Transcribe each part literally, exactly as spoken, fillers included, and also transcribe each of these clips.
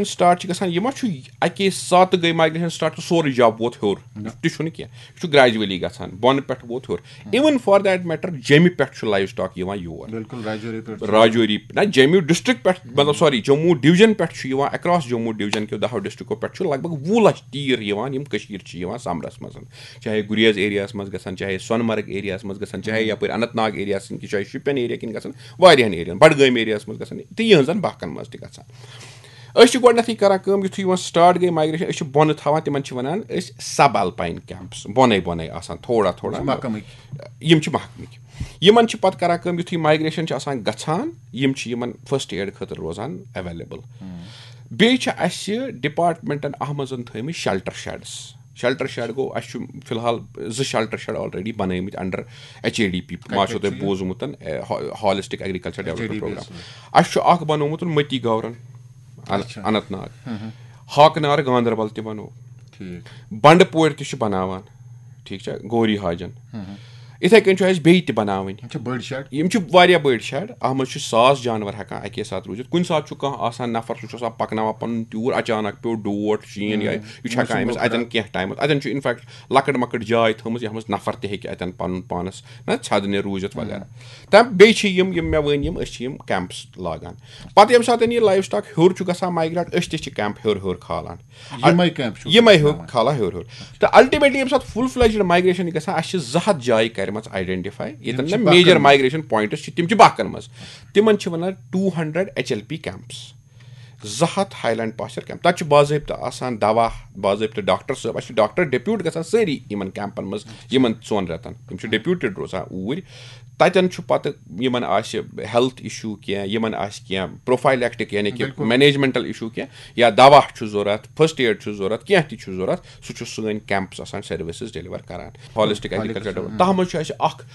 Start چھِ گژھان، یہِ ما چھُ اَکے ساتہٕ گٔے مایگریشن سٹارٹ تہٕ سورُے جب ووت ہیوٚر؟ تہِ چھُنہٕ کینٛہہ، یہِ چھُ گریجولی گژھان، بۄنہٕ پٮ۪ٹھ ووت ہیوٚر۔ Even for that matter، جیٚمہِ پٮ۪ٹھ چھُ لایِو سٹاک یِوان یور۔ بالکل، راجوری پٮ۪ٹھ چھُ۔ راجوری نہ، جیٚمہِ ڈسٹرکٹ پٮ۪ٹھ، مطلب، سوری، جموں ڈویژن پٮ۪ٹھ چھُ یِوان، اکراس جموں ڈویژن کیو دہو ڈسٹرکٹو پٮ۪ٹھ چھُ لگ بگ وُہ لچھ تیٖر یِوان، یِم کٔشیٖر چھِ یِوان سمرس منٛز، چاہے گُریز ایریاہس منٛز گژھن، چاہے سۄنہٕ مرگ ایریاہس منٛز گژھن، چاہے یپٲرۍ اننت ناگ ایریاہس کِنۍ، چاہے شُپین ایریا کِنۍ گژھن، واریاہن ایریاہن، بڈگٲمۍ ایریاہس منٛز گژھن، تہٕ یِہنٛزن باقن منٛز تہِ گژھن۔ أسۍ چھِ گۄڈٕنیتھٕے کران کٲم، یُتھُے یِوان سٹارٹ گٔے مایگریشن، أسۍ چھِ بۄنہٕ تھاوان، تِمن چھِ ونان أسۍ سب الپاین کیمپس، بۄنے بۄنے آسان تھوڑا تھوڑا۔ مقامٕکۍ۔ یِم چھِ محکمٕکۍ۔ یِمن چھِ پتہٕ کران کٲم، یُتھُے مایگریشن چھِ آسان گژھان، یِم چھِ یِمن فرسٹ ایڈ خٲطرٕ روزان اویلیبل۔ بیٚیہِ چھِ اَسہِ ڈپارٹمنٹن اَتھ منٛز تھٲومٕتۍ شیلٹر شیڈس۔ شیلٹر شیڈ گوٚو، اَسہِ چھُ فی الحال زٕ شیلٹر شیڈ آلریڈی بنٲومٕتۍ under H A D P, ما چھُو تۄہہِ بوٗزمُت، ہالسٹک ایگریکلچر ڈیولپمنٹ پروگرام۔ اَسہِ چھُ اکھ بنوومُت مٔتی گورن، ان- اچھا۔ اننت ناگ، ہاکہٕ نارٕ گاندربل تہِ بنوو، ٹھیٖک۔ بنڈٕ پورِ تہِ چھِ بناوان، ٹھیٖک چھا، گوری حاجن۔ یِتھے کٔنۍ چھُ اَسہِ بیٚیہِ تہِ بناوٕنۍ۔ یِم چھِ بٔڑۍ شیڈ؟ یِم چھِ واریاہ بٔڑۍ شیڈ، اَتھ منٛز چھُ ساس جانور ہٮ۪کان اَکے ساتہٕ روٗزِتھ۔ کُنہِ ساتہٕ چھُ کانٛہہ آسان نفر، سُہ چھُ آسان پَکناوان پَنُن تیوٗر، اچانک پیوٚو ڈوٹھ، شیٖن یا یہِ چھُ ہٮ۪کان أمِس اَتٮ۪ن کینٛہہ ٹایمَس، اَتٮ۪ن چھُ اِنفیکٹ لۄکٕٹ مۄکٕٹ جاے تھٲومٕژ، یَتھ منٛز نفر تہِ ہیٚکہِ اَتٮ۪ن پَنُن پانَس نہ ژھٮ۪دنہِ روٗزِتھ وغیرہ۔ تہٕ بیٚیہِ چھِ یِم، یِم مےٚ ؤنۍ، یِم أسۍ چھِ یِم کیمپٕس لاگان۔ پَتہٕ ییٚمہِ ساتہٕ یہِ لایِو سٹاک ہیوٚر چھُ گژھان مایگریٹ، أسۍ تہِ چھِ کیمپ ہیوٚر ہیوٚر کھالان۔ یِمے کیمپ چھُ یِمے تھاوان۔ ہیوٚر کھالان ہیوٚر ہیوٚر۔ تہٕ الٹیمیٹلی ییٚمہِ ساتہٕ فُل فلیجڈ مایگریشن چھِ گژھان، اَسہِ چھِ زٕ ہَتھ جایہِ کَرِمَژٕ آیڈینٹِفاے، ییٚتٮ۪ن چھِ نہ پَکان۔ میجر مایگریشن پوینٹس چھِ، تِم چھِ باقن منٛز۔ تِمن چھِ وَنان two hundred H L P camps, زٕ ہَتھ ہاے لینڈ پاسچر کیمپ۔ تَتہِ چھُ باضٲبطہٕ آسان دوا، باضٲبطہٕ ڈاکٹر صٲب، اَسہِ چھِ ڈاکٹر ڈیپیوٹ گژھان سٲری یِمن کیمپن منٛز، یِمن ژۄن رٮ۪تن۔ تِم چھِ ڈیپیوٹڈ روزان اوٗرۍ۔ تَتٮ۪ن چھُ پَتہٕ یِمن آسہِ ہیلتھ اِشوٗ کینٛہہ، یِمن آسہِ کینٛہہ پروفایلیکٹک، یعنی کہِ بِلکُل۔ مینیجمنٹل اِشوٗ کینٛہہ، یا دوا چھُ ضوٚرتھ، فرسٹ ایڈ چھُ ضوٚرتھ، کینٛہہ تہِ چھُ ضوٚرتھ، سُہ چھُ سٲنۍ کیمپس آسان سروسز ڈیلیور کران۔ ہالسٹک ایگریکلچر ڈیولپمنٹ، تَتھ منٛز چھُ اَسہِ اکھ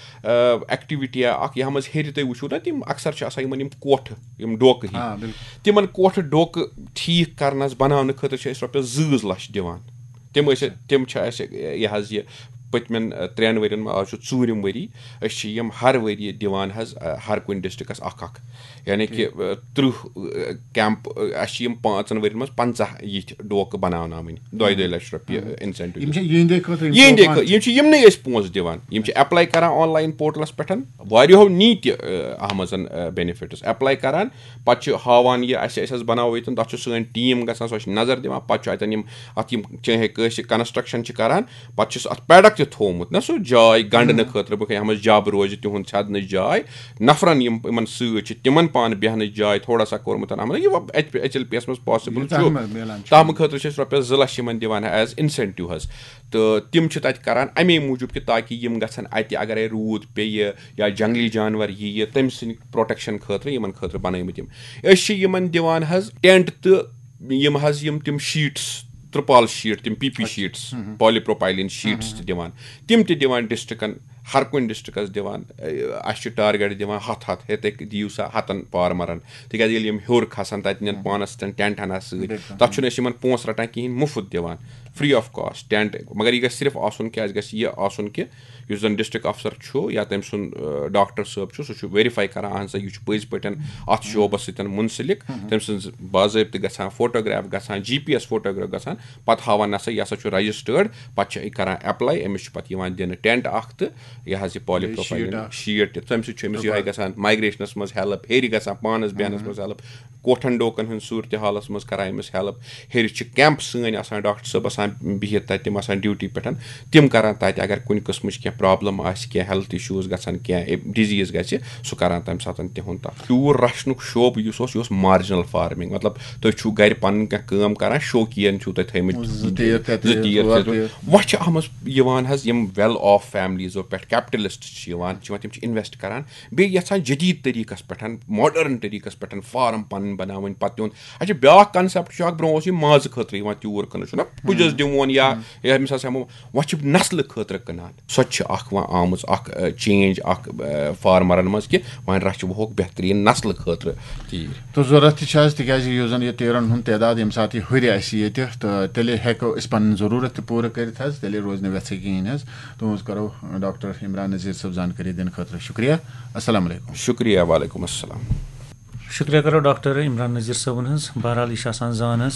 ایکٹیویٹی اکھ، یَتھ منٛز ہیٚرِ تُہۍ وٕچھِو نا، تِم اکثر چھِ آسان یِمن یِم کوٹھٕ، یِم ڈوکہٕ ہی۔ آ، بِلکُل۔ تِمن کوٹھٕ ڈوکہٕ ٹھیٖک کرنس، بناونہٕ خٲطرٕ چھِ أسۍ رۄپیس زٕ زٕ لچھ دِوان۔ تِم ٲسۍ، تِم چھِ اَسہِ یہِ حظ یہِ پٔتمٮ۪ن، آ، ترٛٮ۪ن ؤرین منٛز، آز چھُ ژوٗرِم ؤری، أسۍ چھِ یِم ہر ؤریہِ دِوان حظ، آ، ہر کُنہِ ڈسٹرکس اکھ اکھ، یعنی کہِ، آ، تٕرٛہ، آ، کیمپ، آ، اَسہِ چھِ یِم پانٛژن ؤرین منٛز پنٛژاہ یِتھۍ ڈوکہٕ بناوناوٕنۍ، دۄیہِ دۄیہِ لَچھ رۄپیہِ انسینٹیو۔ یِم چھِ یِہِنٛدے خٲطرٕ، یِم یِہِنٛدے پانہٕ خٲ-، یِم چھِ یِمنٕے أسۍ پونٛسہٕ دِوان، یِم چھِ اپلاے کران آن لاین پورٹلس پٮ۪ٹھ، واریاہو نی تہِ، آ، اَتھ منٛز، آ، بینیفٹس اپلاے کران۔ پتہٕ چھِ ہاوان یہِ اَسہِ، اَسہِ حظ بناوو ییٚتٮ۪ن، تَتھ چھُ سٲنۍ ٹیٖم گژھان، سۄ چھِ نظر دِوان، پتہٕ چھُ اَتٮ۪ن یِم اَتھ یِم چاہے کٲنٛسہِ کنسٹرکشن چھِ کران، پتہٕ چھُس اَتھ پیڈک تہِ تھوٚومُت نہ، سُہ جاے گنڈنہٕ خٲطرٕ، بہٕ یَتھ منٛز جب روزِ تِہُنٛد ژھٮ۪دنٕچ جاے، نفرن یِم یِمن سۭتۍ چھِ تِمن پانہٕ بیٚہنٕچ جاے تھوڑا سا کوٚرمُت عمل۔ یہِ وۄنۍ ایچ ایل پی یَس منٛز پاسبل یہِ چھُ، تَتھ منٛز میلان چھُ۔ تَتھ خٲطرٕ چھِ أسۍ رۄپیس زٕ لچھ یِمن دِوان ایز انسینٹیو حظ۔ تہٕ تِم چھِ تَتہِ کران اَمے موٗجوٗب کہِ تاکہِ یِم گژھن اَتہِ، اگرے روٗد پیٚیہِ یا جنگلی جانور یِیہِ، تٔمۍ سٕنٛدِ پروٹیکشن خٲطرٕ یِمن خٲطرٕ بنٲومٕتۍ یِم۔ أسۍ چھِ یِمن دِوان حظ ٹینٹ تہٕ یِم حظ یِم تِم شیٖٹس، ترپال شیٖٹ، تِم پی پی شیٖٹس، پالی پروپایلین شیٖٹس تہِ دِوان، تِم تہِ دِوان ڈسٹرکن، ہر کُنہِ ڈسٹرکس دِوان۔ اے، اَسہِ چھُ ٹارگیٹ دِوان ہتھ ہتھ، ہے تُہۍ دِیِو سا ہتن فارمرن، تِکیازِ ییٚلہِ یِم ہیوٚر کھسن، تتہِ نِن پانس سۭتۍ ٹینٹ ہنا سۭتۍ، تتھ چھُنہٕ أسۍ یِمن پونٛسہٕ رٹان کِہینۍ، مُفت دِوان، فری آف کاسٹ ٹینٹ، مگر یہِ گژھِ صرف آسُن، کیازِ گژھِ یہِ آسُن کہِ یُس زَن ڈسٹرکٹ افسر چھُ یا تٔمۍ سُنٛد، آ، ڈاکٹر صٲب چھُ، سُہ چھُ ویریفاے کران، اہن سا، یہِ چھُ پٔزۍ پٲٹھۍ اَتھ شعبس سۭتۍ منسلک۔ تٔمۍ سٕنٛز باضٲبطہٕ گژھان فوٹوگراف گژھان، جی پی ایس فوٹوگراف گژھان، پَتہٕ ہاوان، نہ سا، یہِ ہسا چھُ رجسٹٲرڈ، پَتہٕ چھِ یہِ کران اپلاے، أمِس چھُ پَتہٕ یِوان دِنہٕ ٹینٹ اکھ تہٕ یہِ حظ یہِ پالی بیٚیہِ پروپایلین شیٖٹ اکھ۔ شیٖٹ تہِ، تَمہِ سۭتۍ چھُ أمِس یِہوٚے گژھان، مایگریشنس منٛز ہیلپ، ہیٚرِ گژھان پانس بیٚہنس منٛز ہیلپ، کوٹھن ڈوکن ہٕنٛز صوٗرتِ حالس منٛز کران أمِس ہیلپ۔ ہیٚرِ چھِ کیمپ سٲنۍ آسان، ڈاکٹر صٲب آسان بِہِتھ تَتہِ، تِم آسان ڈیوٹی پٮ۪ٹھ، تِم کران تَتہِ، اگر کُنہِ قٕسمٕچ کینٛہہ پرابلم آسہِ، کینٛہہ ہیلتھ اِشوٗز گژھن، کینٛہہ ڈِزیٖز گژھِ، سُہ کران تَمہِ ساتہٕ تِہُنٛد تَتھ۔ تیوٗر رَچھنُک شعبہٕ یُس اوس، یہِ اوس مارجنل فارمنگ، مطلب تُہۍ چھِو گرِ پَنٕنۍ کینٛہہ کٲم کران، شوقیٖن چھِو تُہۍ تھٲومٕتۍ، زٕ تیٖر ترٛےٚ زٕ تیٖر، تیٖر، ژور ترٛےٚ تیٖر۔ تیٖر۔ وۄنۍ چھِ اَتھ منٛز یِوان حظ یِم ویل آف فیملیٖزو پٮ۪ٹھ، کیپٹلسٹ چھِ یِوان، چھِ یِوان، تِم چھِ انویسٹ کران، بیٚیہِ یَژھان جدیٖد طریٖقَس پٮ۪ٹھ، ماڈٲرٕن طریٖقَس پٮ۪ٹھ فارم پَنٕنۍ بَناوٕنۍ۔ پَتہٕ تِہُنٛد، اَسہِ چھِ بیٛاکھ کانسیپٹ چھُ اَکھ، برونٛہہ اوس یہِ مازٕ خٲطرٕ یِوان تیوٗر کٔنٕس چھُنہ پُجَس دِوان یا، یا أمِس آسہِ ہٮ۪مو، وۄنۍ چھِ نسلہٕ خٲطرٕ کٕنان۔ سۄ تہِ چھِ اَکھ وۄنۍ آمٕژ اَکھ، اَ، چینج اَکھ، اَ، فارمَرَن منٛز کہِ وۄنۍ رَچھِ ووکھ بہتریٖن نسلہٕ خٲطرٕ تیٖر۔ تہٕ ضروٗرت تہِ چھِ حظ، تِکیٛازِ یُس زَن یہِ تیٖرَن ہُنٛد تعداد ییٚمہِ ساتہٕ یہِ ہُرِ اَسہِ ییٚتہِ، تہٕ تیٚلے ہٮ۪کو أسۍ پَنٕنۍ ضروٗرت تہِ پوٗرٕ کٔرِتھ حظ، تیٚلے روزِ نہٕ وٮ۪ژھٕے کِہیٖنۍ حظ۔ تُہٕنٛز کَرو ڈاکٹر عمران نذیٖر صٲب زانکٲری دِنہٕ خٲطرٕ شُکریہ۔ السلام علیکم۔ شُکریہ، وعلیکم السلام۔ شُکریہ کرو ڈاکٹر عمران نذیر صٲبُن ہٕنٛز۔ بہرحال، یہِ چھِ آسان زانس۔